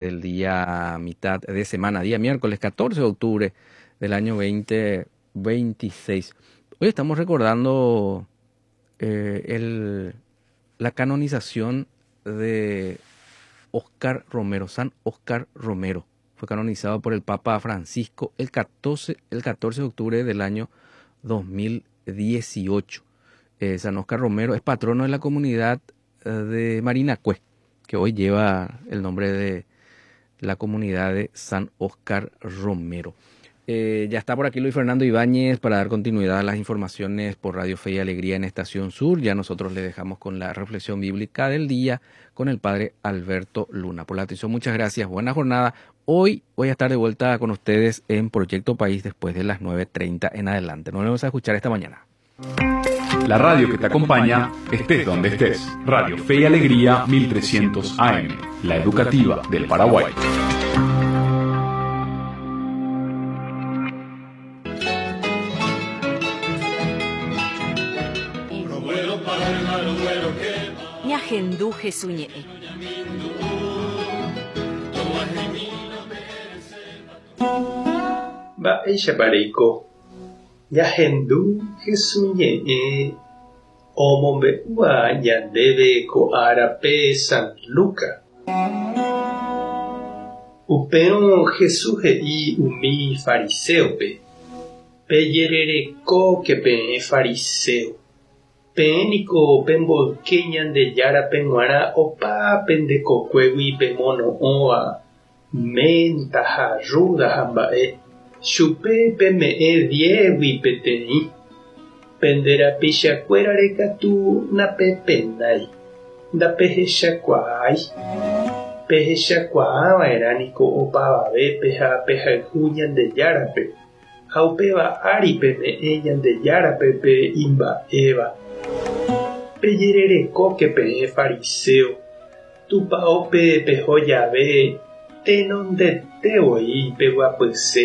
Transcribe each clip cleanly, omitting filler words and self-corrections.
Del día mitad de semana, día miércoles 14 de octubre del año 2026. Hoy estamos recordando eh, el, la canonización de Oscar Romero, San Oscar Romero. Fue canonizado por el Papa Francisco el 14, el 14 de octubre del año 2018. Eh, San Oscar Romero es patrono de la comunidad eh, de Marinacue, que hoy lleva el nombre de la comunidad de San Oscar Romero. Eh, ya está por aquí Luis Fernando Ibáñez para dar continuidad a las informaciones por Radio Fe y Alegría en Estación Sur. Ya nosotros le dejamos con la reflexión bíblica del día con el padre Alberto Luna. Por la atención, muchas gracias. Buena jornada. Hoy voy a estar de vuelta con ustedes en Proyecto País después de las 9.30 en adelante. Nos vemos a escuchar esta mañana. La radio que te acompaña, estés donde estés. Radio Fe y Alegría 1300 AM, la educativa del Paraguay. Ñahendu Jesús ñe'ẽ. Mba'éichapa reiko? Ñahendu Hesu ñe'ẽ omombe'úva ñandéve ko árape San Luca. Upérõ Jesús he'i umi fariséope, Pejererekóke peẽ fariséo, peẽ niko pemboyke Ñandejárape g̃uarã opa pende kokuégui pemono'õva Menta ha rrúda ha mba'e, chupe peme'ẽ diégui peteĩ, pende rapichakuérare katu napepenái, ndapehechakuaái. Pehechakuaava'erã niko opavavépe ha pehayhu Ñandejárape, ha upéva ári peme'ẽ Ñandejárape pe imba'éva. Pejererekóke peẽ fariséo, Tupaópe peho jave tenondete voi peguapyse,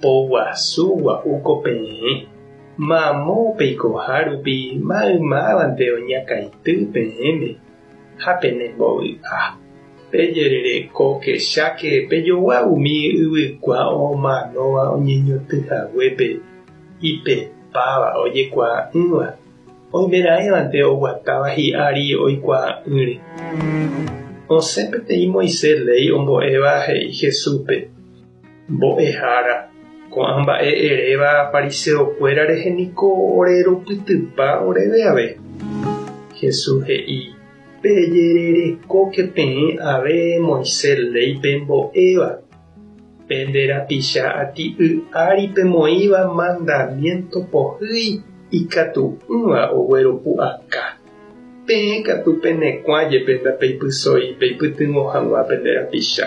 poguasu gua'u ko peẽ, mamo peikoha rupi maymávante oñakãity peẽme ha penembovy'a. Pejererekóke cháke pejogua umi yvykua omanóva oñeñotỹ haguépe ipepáva ojekuaa'ỹva. Oimeraẽvante oguatáva hi'ári oikuaa'ỹre. Osẽ peteĩ Moisés léi ombo'éva he'i Jesúspe, Mbo'ehára, ko'ã mba'e eréva fariseokuéra rehe niko ore rupytypa oréve ave. Jesús he'i, Pejererekóke peẽ ave Moisés léi pembo'éva, Pende rapicha ati'y ári pemoĩva mandamiénto pohýi ikatu'ỹva ogueropu'aka. Peẽ katu penekuã jepe ndapeipysói peipytyvõ hag̃ua pende rapicha.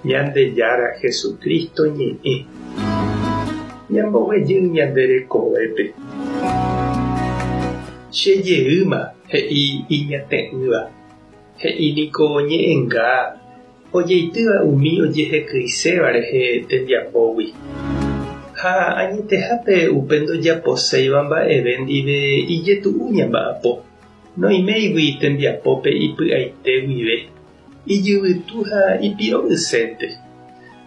Ñandejára Jesucristo ñe'ẽ. Ñamboguejy ñande rekovépe. Che jeýma, he'i iñate'ỹva. He'i niko ñe'ẽnga ojeitýva umi ojehekyiséva rehe tembiapógui. Ha añetehápe upe ndojaposéiva mba'eve ndive ijetu'u ñamba'apo, noiméigui tembiapópe ipy'aite guive, ijyvytu ha ipiro'ysénte.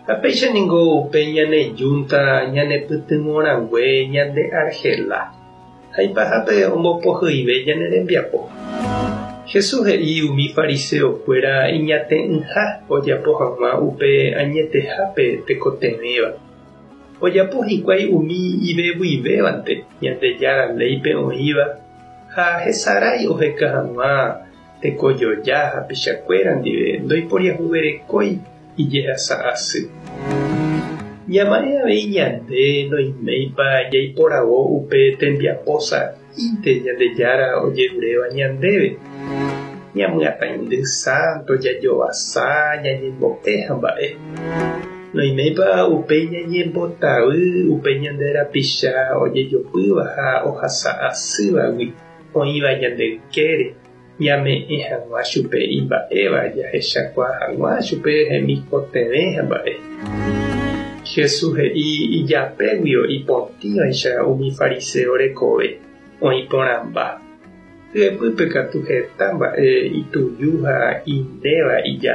Ha péicha ningo upe ñane júnta ñanepytyvõrangue ñande argela. Ha ipahápe ombopohyive ñane rembiapo. Jesús he'i umi fariseokuéra iñate'ỹha ojapo hag̃ua upe añetehápe tekotevẽva. Ojapo hikuái umi ivevuivévante Ñandejára léipe oĩva ha hesarái oheka hag̃ua tekojoja hapichakuéra ndive ndoiporiahuverekói ijehasa asy. Ñama'ẽ avei ñande noiméipa jaiporavo upe tembiapo sa'ínte Ñandejára ojeruréva ñandéve. Ñamyatãindy sánto, jajovasa, ñañembo'e ha mba'e. Noiméipa upéi ñañembotavy upe ñande rapicha ojejopýva ha ohasa asývagui oĩva ñande ykére. Ñame'ẽ hag̃ua chupe imba'éva jahechakuaa hag̃ua chupe hemikotevẽ ha mba'e. Jesús he'i ijapéguio ipotĩvaicha umi fariséo rekove, oĩ porãmba. Hyepýpe katu heta mba'e ituju ha inéva ija.